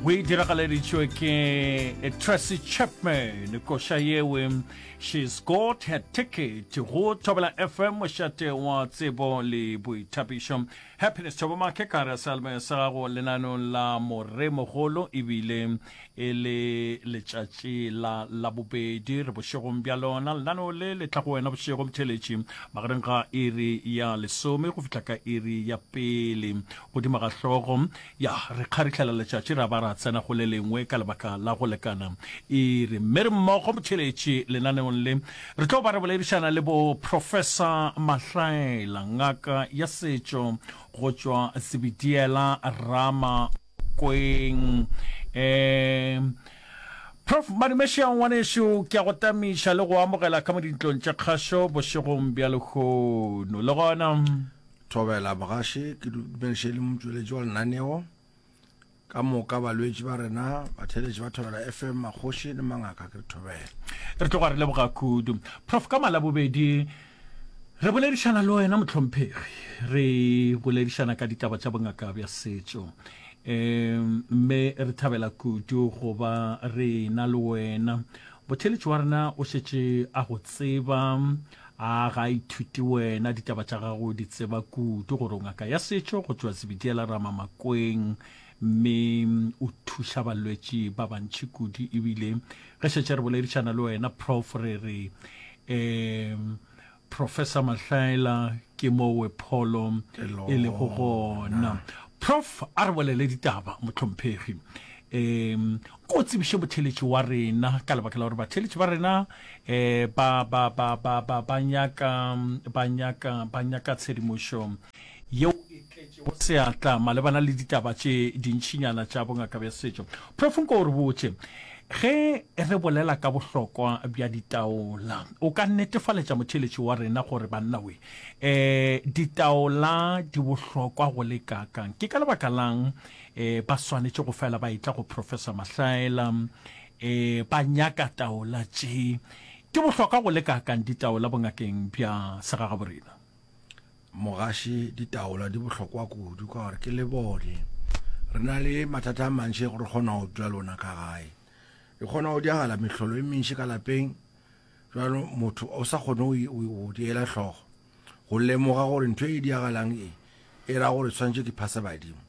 O e diragaleditšwe ke Tracy Chapman, koša yewe She's Got Her Ticket go Thobela FM, mošate wa tsebo le boithapišo. Happiness Thobo Make ka re sealmoya sa gago lenanong la Moremogolo ebile e le letšatši la Labobedi re bošegong bja lona. Lenaneo le le tla go wena bošego motheeletši magareng ga iri ya lesome go fihla ka iri ya pele godimo ga hlogo. Ya re kgarihlela letšatši ra ba ra tsena go le lengwe ka lebaka la go lekana iri. Mme re mmogo motheeletši lenaneong le re tlo ba re boledišana le bo Professor Mahlaela, ngaka ya setšo go tšwa Zebediela Rama Kweng. Um Prof Madumešia ngwanešu, ke a go tamiša le go amogela ka mo dintlong tša kgašo bošegong bja lehono. Le gona. Thobela mogaši, ke dumediše le motšweletši wa lenaneo, ka moka balwetši ba rena, batheeletši ba Thobela FM, makgoši le mangaka, ke re thobela. Re tloga re leboga kudu. Prof ka Malabobedi re boledišana le wena mohlomphegi, re boledišana ka ditaba tša bongaka bja setšo. Um mme re thabela kudu go ba re na le wena. Botheeletši wa rena o šetše a go tseba, A ga a ithute wena ditaba tša gago o di tseba kudu gore o ngaka ya setšo go tšwa Zebediela Ramamakweng mme o thuša balwetši ba bantši kudu ebile ge šetše re boledišana le wena Prof re re um Professor Mahlaela ke mowe pholo e lego gona. Prof a re bolele ditaba mohlomphegi. Um ko tsebiše motheletši wa rena ka lebaka la gore batheletši ba rena um ba ba ba ba ba ba nyaka ba nyaka ba nyaka tshedimošo yeo e tletšego seatla malebana le ditaba tše dintšinyana tša bongaka bja setšo. Prof nko o re botše ge re bolela ka bohlokwa bja ditaola o ka netefaletša motheletši wa rena gore banna we um ditaola di bohlokwa go le kakang ke ka lebaka lang E, ba swanetše go fela ba etla go Professor Mahlaela, e, ba nyaka taola tše. Di bohlokwa go le kaakang ditaola bongakeng bja segagaborena? Mogaši, ditaola di bohlokwa kudu ka gore ke lebone. Re na le mathata a mantši re kgona go dula le ona ka gae. E kgona go diagala mehlolo e mentši ka lapeng, jalo motho o sa kgone go di ela hlogo. Go lemoga gore ntho e diagalang e, e ra gore tshwanetse ke phase badimo.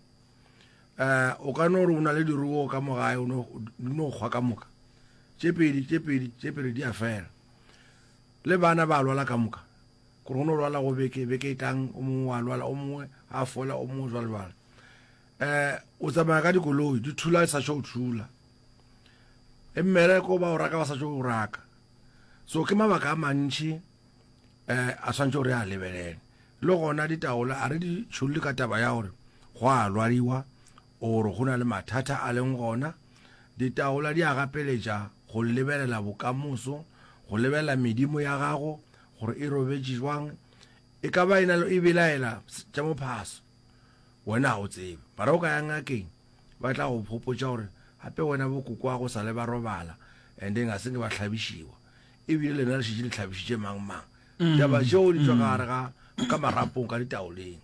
Um o ka no re o na le diruo ka mo gae, o no di no kgwa ka moka. Tše pedi, tše pedi, tše pedi di a fela. Le bana ba lwala ka moka. Gore go no lwala go beke, beke e tlang, o mongwe wa lwala, o mongwe a fola, o mongwe jwalo jwalo. Um o tsamaya ka dikoloi, di thula di sa tšo thula. E mmereko ba o raka ba sa tšo o raka. So ke mabaka a mantši um a swantše gore a lebelele. Le gona ditaola a re di tšholle ka taba ya gore go a lwadiwa or go na le mathata a leng gona. Ditaola di a gapeletša go lebelela bokamoso, go lebelela medimo ya gago gore e robetše jwang. E ka ba e na le e belaela tša mophaso, wena ga o tsebe. Mara o ka ya ngakeng ba tla go gopotša gore gape wena bokokwago sa le ba robala and then ga se nke ba hlabišiwa. Ebile lena le šetše le hlabišitše mang mang. Taba tšeo di tšwa ka gare ga ka marapong ka ditaoleng.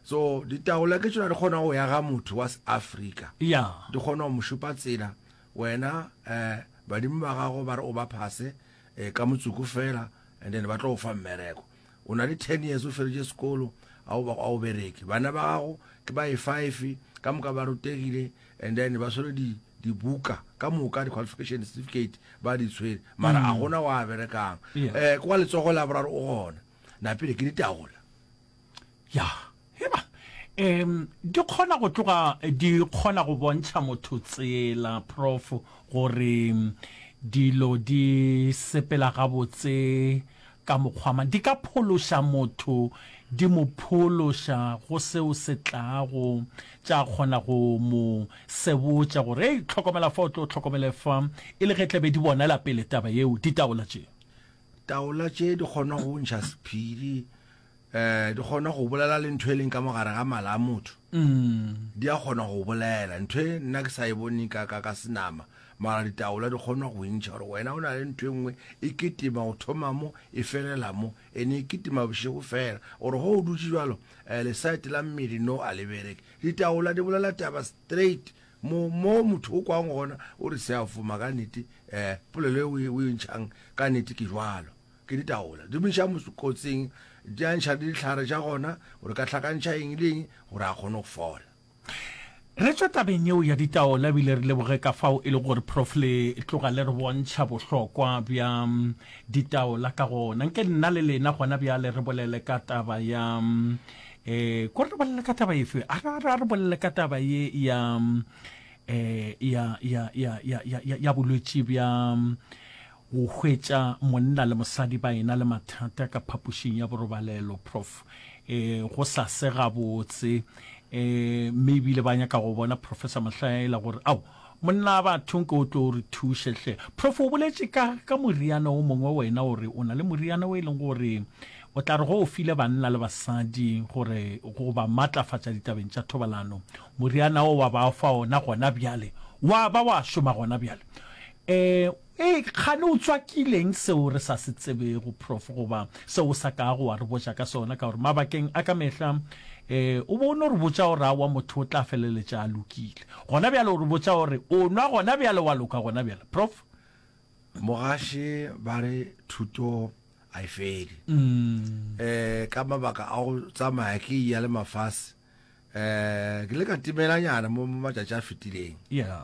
So ditaola ke tšona di kgona go ya ga motho wa Afrika. Ya. Di kgona go mo šupa tsela wena eh badimo ba gago ba re o ba phase eh, ka motsoko fela and then ba tlo go fa mmereko. O na le 10 years o feditše sekolo a o a o bereke. Bana ba gago ke ba e 5 ka moka ba rutegile and then ba swere di dibuka ka moka di qualification certificate ba di tshwere mara a gona wa berekang Yeah. eh kwa letsogo la boraro o gona napile ke ditaola ya heba um di kgona go tloga di kgona go bontšha motho tsela prof gore mm, dilo di sepela gabotse ka mokgwa mang di ka phološa motho di mo phološa go seo se tlago tša kgona go mo sebotša gore ei hlokomela fa o tlo hlokomele fa e le ge tla be di bonela pele taba yeo ditaola tše. Taola tše di kgona go ntšha sephiri um di kgona go bolela le ntho e leng ka mogare ga mala a motho di a kgona go bolela ntho e nna ke sa e bone ka ka ka senama mara ditaola di kgona go ntšha gore wena o na le ntho e nngwe e kitima go thoma mo e felela mo ene e kitima bošego fela gore go o dutše jalo um lesaete la mmele no a le bereke ditaola di bolela taba straight. Mo, mo motho o kwang gona, o re se a foma ka nnete, eh, polelo e o e, o e ntšhang ka nnete ke jwalo. Ke ditaola. Di mo iša kotsing, di a ntšha le dihlare tša gona, gore ka hlakantšha eng le eng, gore a kgone go fola. Re tšwa tabeng yeo ya ditaola ebile re leboge ka fao e le gore Prof le tloga le re bontšha bohlokwa bja ditaola ka gona. Nke nna le lena gona bjale re bolele ka taba ya um ko re bolele ka taba efe? A re a re bolele ka taba ye ya um ya ya ya ya ya ya bolwetši bja Go hwetša monna le mosadi ba ena le mathata ka phapošing ya borobalelo, Prof. E, go sa se gabotse. E, mme ebile ba nyaka go bona Professor Mahlaela gore, ao, monna batho nke o tlo re thuše hle. Prof, o boletše ka, ka moriana o mongwe wena o re o na le moriana o e leng gore o tla re go o file banna le basadi gore go ba matlafatša ditabeng tša thobalano, moriana o wa ba fa ona gona bjale, wa ba wa šoma gona bjale. E, Ee, kgane o tswakileng seo re sa se tsebego, Prof, goba seo o sa kago wa re botša ka sona? Ka gore mabakeng a ka mehla um o be o no re botša gore aowa motho o tla feleletša a lokile. Gona bjale o re botša gore o nwa gona bjale wa loka gona bjale. Prof. Mogaši ba re thuto a e fele. Um ka mabaka a go tsamaya ke eya le mafase um ke ile ka timelanyana mo matšatši a fetileng yeah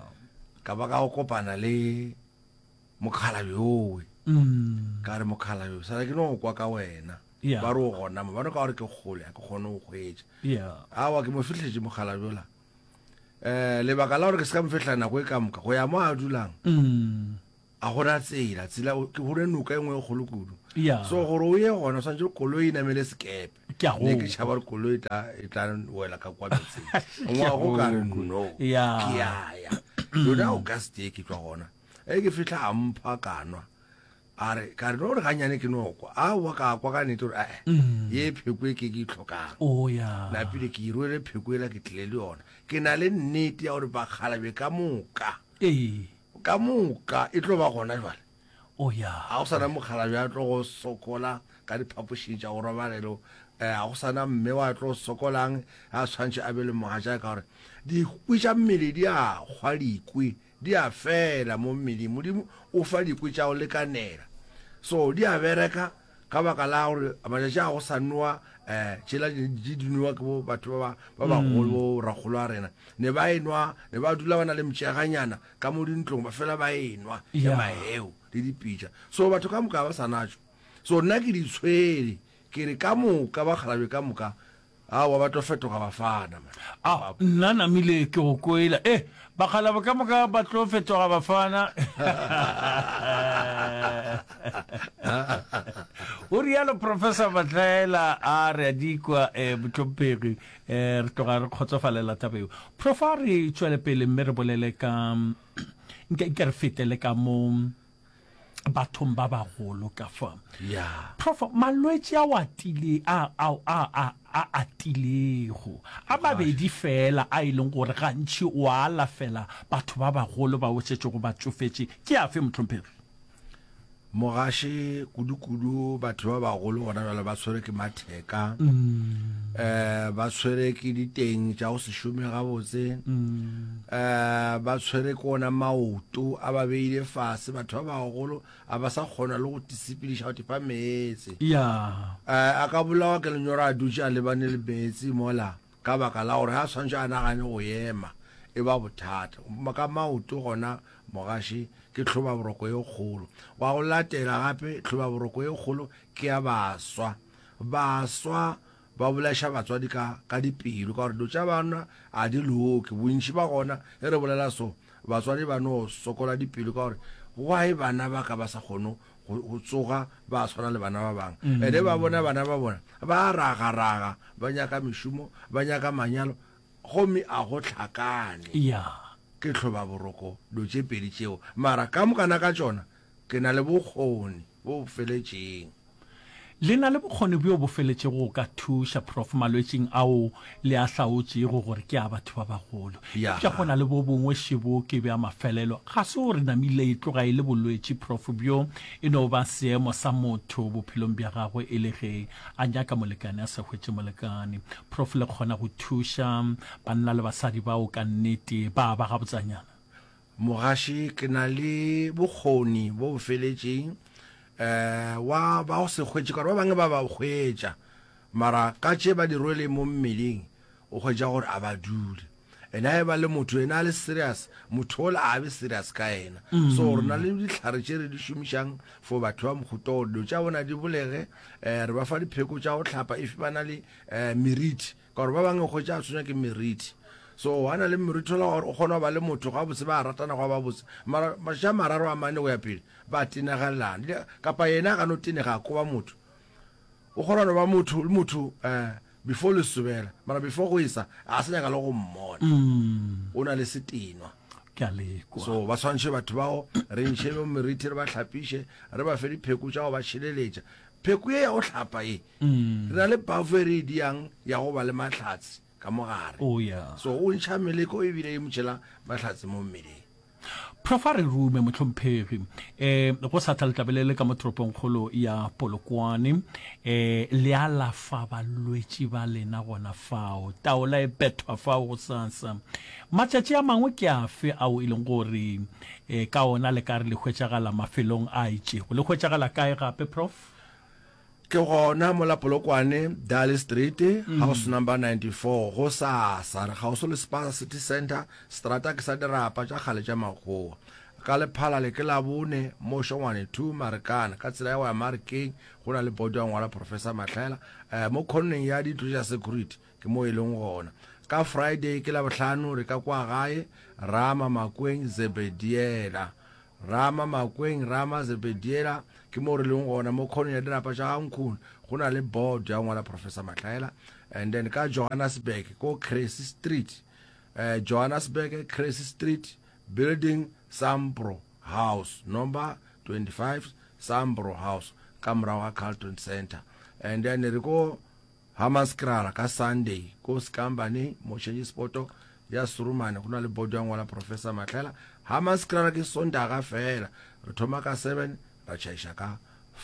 ka ba ka go kopana le mokgalabje yowe mm. ka re mokgalabje sala ke no go kwa ka wena yeah. ba re o gona mo ba no ka gore ke kgole ga ke kgone go hwetša yeah. awa ke mo fihletše mokgalabje ola um lebaka la gore ke se ka mo fihla nako e ka moka go ya mo a dulang mm. A go na tsela, tsela ke go ne noka e nngwe e kgolo kudu. Yeah. So gore o ye gona o swanetše gore koloi e namele sekepe. Ke a go Ne ke tšhaba gore koloi e tla e tla wela ka kwa metseng. Ngwago ka re no. Yeah. Ke a ya. Yona August e ke tšwa gona. E ke fihla a mpha ka nwa. A re ka re no re ganyane ke no kwa. Aowa ka kwa ka nnete gore eh ye pheko e ke ke e hlokang. Oh yeah. Napile ke e rwele pheko ela ke tlile le yona. Ke na le nnete ya gore bakgalabje ka moka. Ee. Ka moka e tlo ba gona jwale. Oh ya. Ga go sana mokgalabje a tlo go sokola ka diphapošing tša go robalelo. Eh, ga go sana mme wa tlo sokolang a tshwantše a be le mogatšae ka gore dikwi tša mmele di a kgwa dikwi di a fela mo mmeleng. Modimo o fa dikwi tša go lekanela. So di a bereka Ka baka la gore matšatši a go sa nowa um tšela di di nowa ke bo batho ba ba bagolo bo rakgolo a rena ne ba enwa ne ba dula ba na le mtšeganyana ka mo dintlong ba fela ba enwa ya maheo le dipitša so batho ka moka ba sa natšo so nna ke di tshwere ke re ka moka bakgalabje ka moka Aowa, ba tlo fetoga bafana man. A, nna namile ke go kwela. Eh, bakgalabo ka moka ba tlo fetoga bafana. O rialo Professor Matlaela a re a di kwa eh, mohlomphegi eh, re tloga re kgotsofalela taba eo. Prof a re tšwele pele mme re bolele ka nke nke re fetele ka mo bathong ba bagolo ka fa. Yeah. Prof, malwetši ao atile a a a a a atilego a mabedi fela a e leng gore gantši o a alafela batho ba bagolo ba o šetšego ba tšofetše ke afe mohlomphegi? Mogaši kudu-kudu batho ba bagolo gona bjale ba tshwere ke matheka um ba tshwere ke diteng tša go se šome gabotse um ba tshwere ke ona maoto a ba beile fase batho ba bagolo a ba sa kgona le go tisepediša go tifa meetse yeah. um a ka bolawa ke lenyora a dutše a lebane le meetse mola ka baka la gore ga a tshwanetse a nagane go ema e ba bothata ka maoto gona Mogaši ke tlhobaboroko ye kgolo. Wa go latela gape tlhobaboroko ye kgolo ke ya baswa. Baswa ba bolaiša batswadi ka, ka dipelo ka gore dilo tša bana a di loke. Bontši ba gona ge re bolela so, batswadi ba no sokola dipelo ka gore why bana ba ka ba sa kgone go, go tsoga ba tshwana le bana ba bangwe. Ene ba bona bana ba bona ba ragaraga, ba nyaka mešomo, ba nyaka manyalo gomme a go hlakane. Yeah. Ke hlobaboroko dilo tše pedi tšeo, mara ka mokana ka tšona ke na le bokgoni bo bo feletšeng. Le na le bokgoni bjo bo feletšego go ka thuša, Prof, malwetšing ao le a hlaotšego gore ke a batho ba bagolo. Eupša go na le bo bongwe šebo ke bja mafelelo. Ga se gore namile e tloga e le bolwetši, Prof, bjo e no ba seemo sa motho bophelong bja gagwe e le ge a nyaka molekane a sa hwetše molekane. Prof, le kgona go thuša banna le basadi bao ka nnete ba ba gabotsanyana? Mogaši, ke na le bokgoni bo bo feletšeng um wa ba go se hwetše, ka gore ba bangwe ba ba hwetša, mara ka tše ba di rweleng mo mmeleng, o hwetša gore a ba dule. And ha e ba le motho yena a le serious, motho ola a be serious ka yena. So re na le dihlare tše re di šomišang for batho ba mohuta gore dilo tša bona di bolege, um re ba fa dipheko tša go hlapa if ba na le um meriti. Ka gore ba bangwe o hwetša a tshwenywa ke meriti. So a na le meriti ola gore o kgona go ba le motho gabotse ba ratana gwa ba botse. Mara matšatši a mararo a mane go ya pele ba tenegelana. Kapa yena a ka no tenega a koba motho. O kgona no ba motho le motho eh before le sobela. Mara before go esa a sa nyaka le go mmona. O na le setenwa. Ke a lekwa. So ba tshwantshe batho bao re ntšhe mo meriti re ba hlapiše re ba fe dipheko tša go ba tšhireletša. Pheko ye ya go hlapa ye Re na le bafo e re e diang ya go ba le mahlatse ka mo gare. Oh, yeah. So o ntšha meleko ebile e mo tšhela mahlatse mo mmeleng. Prof a re rume mohlomphegi eh go sa tla letlabe le le ka mo toropongkgolo ya Polokwane eh le alafa balwetši ba lena gona fao taola e bethwa fao go sasa matšatši a mangwe ke afe ao e leng gore eh ka ona le ka re le hwetšagala mafelong a itšego le hwetšagala kae gape prof? Ke gona mola Polokwane, Darley Street, house number 94, gosasa. Re kgauswi le Spaza City Centre, seterata ke sa dirapa tša kgale tša makgowa. Ka Lephalale ke Labone, mo Shongwane 2, Marikana, ka tsela ya go ya Marikeng, go na le boto ya go ngwala Professor Mahlaela, mo khoneng ya dintlo tša security, ke mo e leng gona. Ka Friday ke Labohlano, re ka kwa gae, Rama, Makweng, Zebediela. Rama, Makweng, Rama, Zebediela, ke moo re leng gona, mo khoneng ya dirapa tša ga Nkhuni, go na le board ya go ngwala Professor Mahlaela. And then ka Johannesburg, ko Cressy Street, eh, Johannesburg, Cressy Street, building Sampro House, number 25, Sampro House, ka morago ga Carlton Centre. And then re ko Hammanskraal ka Sunday ko Skambaneng mo change spoto ya Surumane go na le bodo ya ngwala Professor Mahlela. Hammanskraal ke Sontaga fela re thoma ka 7 ra tšhaiša ka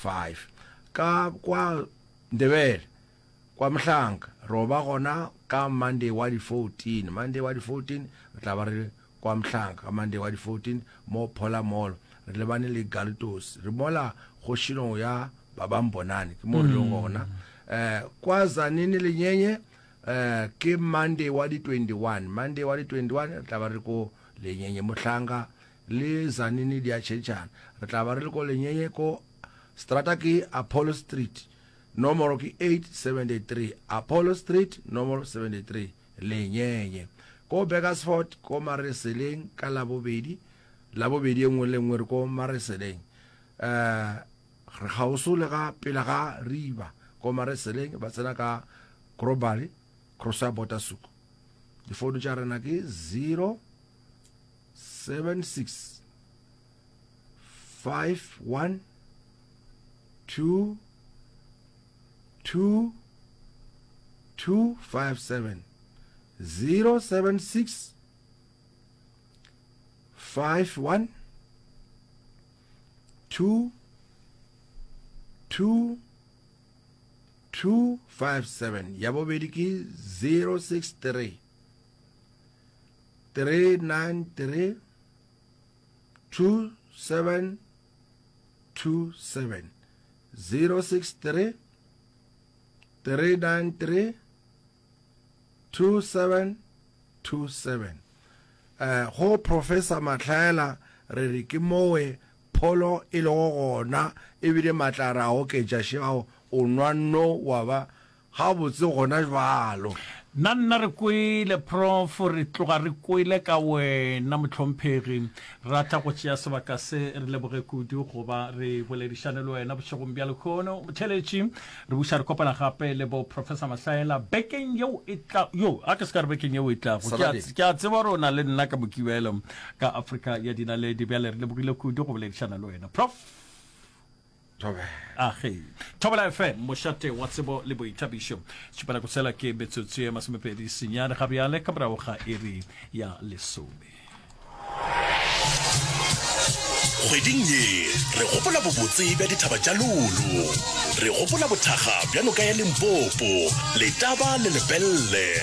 5. Ka kwa Ndebele kwa Mhlanka ro ba gona ka Monday wa di 14. Monday wa di 14 re tla ba re kwa Mhlanka ka Monday wa di 14 mo Phola Mall re lebane le Galtos re mola kgošinong ya Babambonani ke mo re leng gona eh kwa Zanini Lenyenye eh ke Monday wa di 21 Monday wa di 21 re tla ba re ko Lenyenye Mohlanga le Zanini di a tšhentšhana re tla ba re le ko Lenyenye ko strata ke Apollo Street nomoro ke 873 Apollo Street nomoro 73 Lenyenye ko Burgersfort ko Mareseleng ka Labobedi Labobedi e nngwe le nngwe re ko Mareseleng eh Re kgauswi le ga pele ga riba ko Mareseleng ba tsena ka Krobali, cross ya Botasuk. Difounu tša rena ke 076 51 2 2 257 076 51 2 2 2 5 7 ya bobedi ke 063 393 2 7 2 7 063 393 2727 eh go Professor Mahlaela re re ke mowe pholo e lego gona ebile matla re a oketša šeao o nwa no wa ba gabotse gona jwalo. Nna nna re kwele Prof re tloga re kwele ka wena mohlomphegi. Re rata go tšea sebaka se re leboge kudu go ba re boledišane le wena bošegong bja lehono motheletši. Re buša re kopana gape le bo Professor Mahlaela bekeng yeo e tla yo a ke se ka re bekeng yeo e tlago. Ke a ke a tseba gore o na le nna ka Mokibelo ka Afrika ya Dinaledi. Bjale re lebogile kudu go boledišana le wena Prof. Thobela. Age. Thobela FM, mošate wa tsebo le boithabišo. Tšhupela go sela ke metsotso ye masomepedi senyane ga bjale ka morago ga iri ya lesome. Kgweding ye re gopola bobotse bja dithaba tša Lulu. Re gopola bothakga bja noka ya Limpopo, Letaba le Lepelle.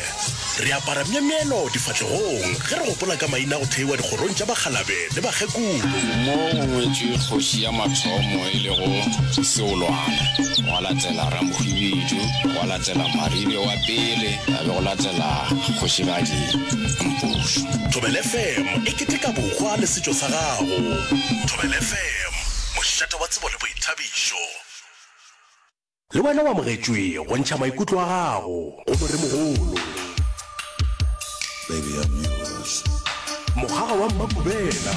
Re apara myemyelo difahlegong ge re gopola ka maina a go theiwa dikgorong tša bakgalabe le bakgekolo. Mo go ngwetšwe kgoši ya mathomo e lego Seolwana, gwa latela Ramohwibidu, gwa latela Maribe wa pele, ya be go latela Kgošigadi Mpušo. Thobela FM e keteka bohwa le setšo sa gago. Thobela FM, mošate wa tsebo le boithabišo. Le wena o amogetšwe go ntšha maikutlo a gago go Moremogolo. Baby, I'm yours. Mokgaga wa Mmakubela.